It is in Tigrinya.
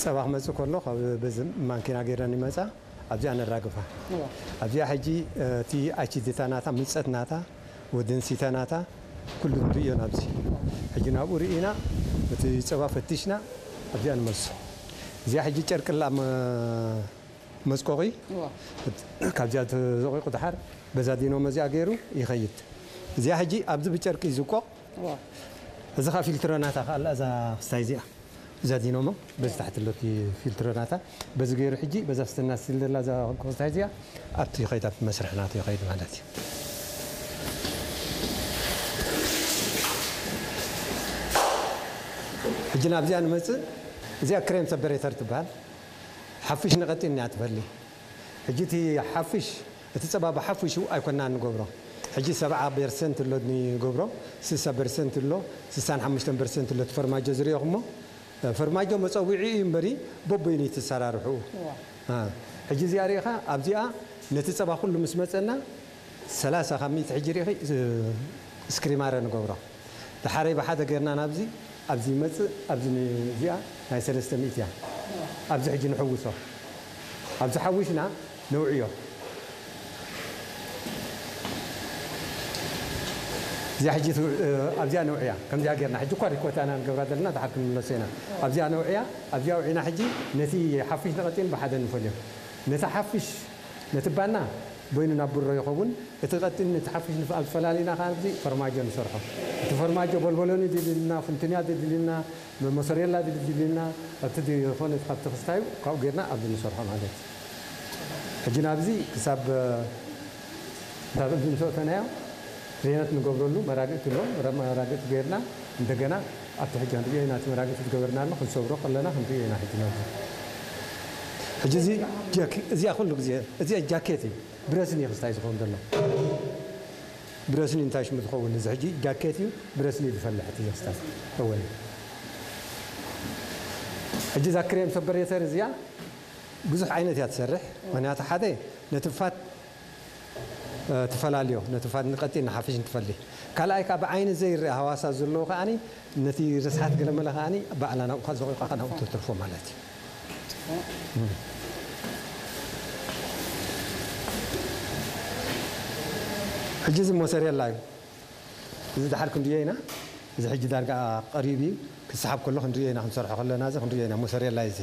ጸባ ክመጽእ ከሎ ካብ በዚ ማንኪና ገይረን ይመጻ። ኣብዚኣ ነራግፋ። እዋ። ኣብዚኣ ሕጂ፣ እ፣ እቲ ኣቺቴታ ናታ፣ ምጸት ናታ፣ ወደንሲታ ናታ፣ ኩሉ ንርእዮ ናብዚ። ሕጂ ናብኡ ርኢና፣ እቲ ጸባ ፈቲሽና፣ ኣብዚኣ ንመልሶ። እዚኣ ሕጂ ጨርቅላ መ-፣ መዝቆቒ፣ እዋ። ካብዚኣ ተዘቂቑ ድሓር በዛ ዲኖሞ እዚኣ ገይሩ ይኸይድ። እዚኣ ሕጂ ኣብዚ ብጨርቂ ይዝቆቕ። እዋ። እዚ ኸኣ ፊልትሮ ናታ ኸኣ ኣላ፣ እዛ ክስታይ እዚኣ። እዛ ዲኖሞ በዚ ታሕቲ ኣሎት ፊልትሮ ናታ። በዚ ገይሩ ሕጂ በዛ ስተናስል ዘላ እዛ ክስታይ እዚኣ ኣብቲ ይኸይድ፣ ኣብቲ መስርሕ ናቱ ይኸይድ ማለት እዩ። ሕጂ ናብዚኣ ንመጽእ። እዚኣ ክሬም ሰፐሬተር ትበሃል። ሓፊሽ ንቐጢን እያ ትፈሊ። ሕጂ እቲ ሓፊሽ፣ እቲ ጸባ ብሓፊሹ ኣይኮናን ንገብሮ። ሕጂ ሰብዓ ፐርሰንት ኣሎ ንገብሮ፣ ስሳ ፐርሰንት ኣሎ፣ ስሳን ሓሙሽተን ፐርሰንት ኣሎ። እቲ ፈርማጆ ዝርኢኹሞ፣ ፈርማጆ መጸዊዒ እዩ እምበሪ፣ በበይኑ እዩ እቲ ኣሰራርሕኡ። እዋ። አ፣ ሕጂ እዚኣ ርኢኻ፣ ኣብዚኣ ነቲ ጸባ ኩሉ ምስ መጸና፣ ሰላሳ ካብ ሚእቲ ሕጂ ርኢኺ፣ እ፣ ስክሪማረ ንገብሮ። ድሓረይ ብሓደ ጌርና ናብዚ፣ ኣብዚ ይመጽእ፣ ኣብዚ ን-፣ እዚኣ ናይ ሰለስተ ሚእቲ እያ። ኣብዚ ሕጂ ንሕውሶ። ኣብዚ ሓዊስና ነውዕዮ። እዚኣ ሕጂ ትው-፣ እ፣ ኣብዚኣ ነውዕያ። ከምዚኣ ጌርና። ሕጂ እኳ ሪኮታ ኢና ንገብራ ዘለና፣ ድሓር ክንምለሶ ኢና። ኣብዚኣ ነውዕያ፣ ኣብዚኣ ኣውዒና ሕጂ ነቲ ሓፊሽ ንቐጢን ብሓደ ንፈልዮ። ነቲ ሓፊሽ ነቲ ባና በይኑ ናብ ብሮ ይኸውን። እቲ ቀጢን ነቲ ሓፊሽ ንፍ-፣ ኣብ ዝፈላሊና ከኣ ኣብዚ ፈርማጆ ንሰርሖ። እቲ ፈርማጆ ቦልቦሎኒ ድልልና፣ ፍንትንያ ድልልና፣ ሞሶሬላ ድልልና፣ ኣብቲ ዝኾነ ካብቲ ክስታዩ ካብኡ ጌርና ኣብዚ ንሰርሖ ማለት እዩ። ሕጂ ናብዚ ክሳብ፣ ክሳብ እዚ ምስ ኣእተናዮ ድሬነት ንገብረሉ መራግእቲ ኣሎ። መራ-፣ መራግእቲ ጌርና እንደገና ኣብቲ ሕጂ ክንርእዮ ኢና። እቲ መራግእቲ ዝገበርናሉ ክንሰብሮ ከለና ክንርእዮ ኢና። ሕጂ ናብዚ፣ ሕጂ እዚ ጃክ-፣ እዚኣ ኩሉ ግዜ እዚኣ ጃኬት እዩ። ብረስኒ እዩ ክስታይ ዝኸውን ዘሎ። ብረስኒ እንታይ ሽሙ ዝኸውን? እዚ ሕጂ ጃኬት እዩ፣ ብረስኒ እዩ ዝፈልሕ እቲ ክስታይ። እወ። ሕጂ እዛ ክሬም ሰፐሬተር እዚኣ ብዙሕ ዓይነት እያ ትሰርሕ። ምኽንያቱ ሓደ ነቲ ፋት፣ እ፣ ትፈላልዮ፣ ነቲ ፋት ንቐጢን ንሓፍሽ እንትፈሊ። ካልኣይ ከኣ ብዓይኒ ዘይረኣ ሃዋሳት ዘለዉ ከኣኒ ነቲ ርስሓት ገለመለ ከኣኒ ባዕላ ናብኡ ከኣ ዘቑቃ ከኣ ናብኡ ተትርፎ ማለት እዩ። ሕጂ እዚ ሞሰሬላ እዩ። እዚ ድሓር ክንርእዮ ኢና። እዚ ሕጂ ዳርጋ ቀሪቡ እዩ። ክሰሓብ ከሎ ክንርእዮ ኢና፣ ክንሰርሖ ከለና እዚ ክንርእዮ ኢና። ሞሰሬላ እዩ እዚ።